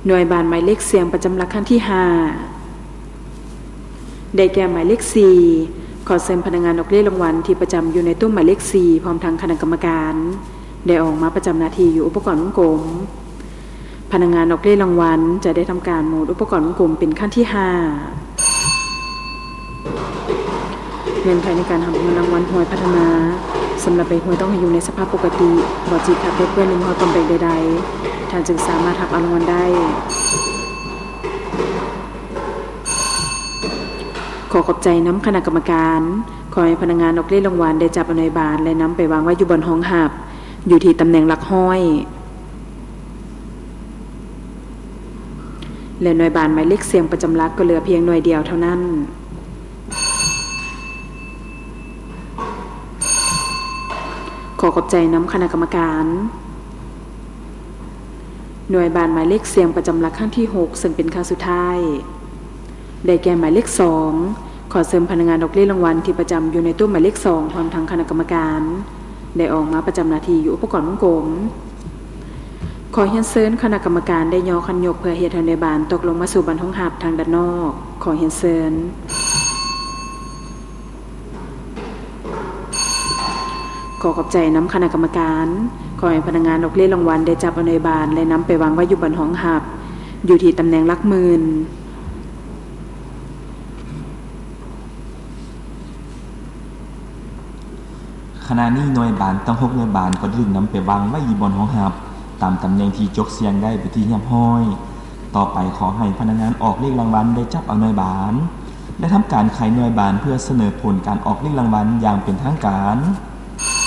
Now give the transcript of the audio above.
ໜ່ວຍບານໝາຍເລກສ່ຽງປະຈຳຫຼັກຄັ້ງທີຫ້າ ໄດ້ແກ່ໝາຍເລກສີ່. ຂໍເຊີນພະນັກງານອອກເລກລາງວັນທີ່ປະຈຳຢູ່ໃນໂຕະໝາຍເລກສີ່ ພ້ອມທັງຄະນະກຳມະການ ໄດ້ອອກມາປະຈຳໜ້າທີ່ຢູ່ອຸປະກອນວົງກົມ. ພະນັກງານອອກເລກລາງວັນຈະໄດ້ທຳການໝູນອຸປະກອນວົງກົມເປັນຄັ້ງທີຫ້າ. ເງື່ອນໄຂໃນການຮັບເງິນລາງວັນຫວຍພັດທະນາ. ສຳລັບໃບຫວຍຕ້ອງໃຫ້ຢູ່ໃນສະພາບປົກກະຕິ, ບໍ່ຈີດຂາດ ເປິເປື້ອນ ຫຼືມີຮອຍປອມແປງໃດໆ, ທ່ານຈຶ່ງສາມາດຮັບເອົາລາງວັນໄດ້. ຂໍຂອບໃຈນຳຄະນະກຳມະການ. ຂໍໃຫ້ພະນັກງານອອກເລກລາງວັນໄດ້ຈັບເອົາໜ່ວຍບານ ແລະ ນຳໄປວາງໄວ້ຢູ່ບ່ອນຮອງຮັບ ຢູ່ທີ່ຕຳແໜ່ງຫຼັກຮ້ອຍ ແລະ ໜ່ວຍບານໝາຍເລກສ່ຽງປະຈຳຫຼັກກໍເຫຼືອພຽງໜ່ວຍດຽວເທົ່ານັ້ນ. ຂໍຂອບໃຈນຳຄະນະກຳມະການ. ໜ່ວຍບານໝາຍເລກສ່ຽງປະຈຳຫຼັກຄັ້ງທີຫົກ ເຊິ່ງເປັນຄັ້ງສຸດທ້າຍ ໄດ້ແກ່ໝາຍເລກສອງ. ຂໍເຊີນພະນັກງານອອກເລກລາງວັນທີ່ປະຈຳຢູ່ໃນໂຕະໝາຍເລກສອງ ພ້ອມທັງຄະນະກຳມະການ ໄດ້ອອກມາປະຈຳໜ້າທີ່ຢູ່ອຸປະກອນວົງກົມ. ຂໍຮຽນເຊີນຄະນະກຳມະການໄດ້ຍໍຄັນຍົກເພື່ອເຮັດໃຫ້ໜ່ວຍບານຕົກລົງມາສູ່ບ່ອນຮອງຮັບທາງດ້ານນອກ. ຂໍຮຽນເຊີນ. ຂໍຂອບໃຈນຳຄະນະກຳມະການ. ຂໍໃຫ້ພະນັກງານອອກເລກລາງວັນໄດ້ຈັບເອົາໜ່ວຍບານ ແລະ ນຳໄປວາງໄວ້ຢູ່ບ່ອນຮອງຮັບ ຢູ່ທີ່ຕຳແໜ່ງຫຼັກໝື່ນ. ຂະນະນີ້ໜ່ວຍບານທັງຫົກໜ່ວຍບານກໍໄດ້ຖືກນຳໄປວາງໄວ້ຢູ່ບ່ອນຮອງຮັບ ຕາມຕຳແໜ່ງທີ່ຈົກສ່ຽງໄດ້ເປັນທີ່ຮຽບຮ້ອຍ. ຕໍ່ໄປຂໍໃຫ້ພະນັກງານອອກເລກລາງວັນໄດ້ຈັບເອົາໜ່ວຍບານ ແລະ ທຳການໄຂໜ່ວຍບານເພື່ອສະເໜີຜົນການອອກເລກລາງວັນຢ່າງເປັນທາງການ.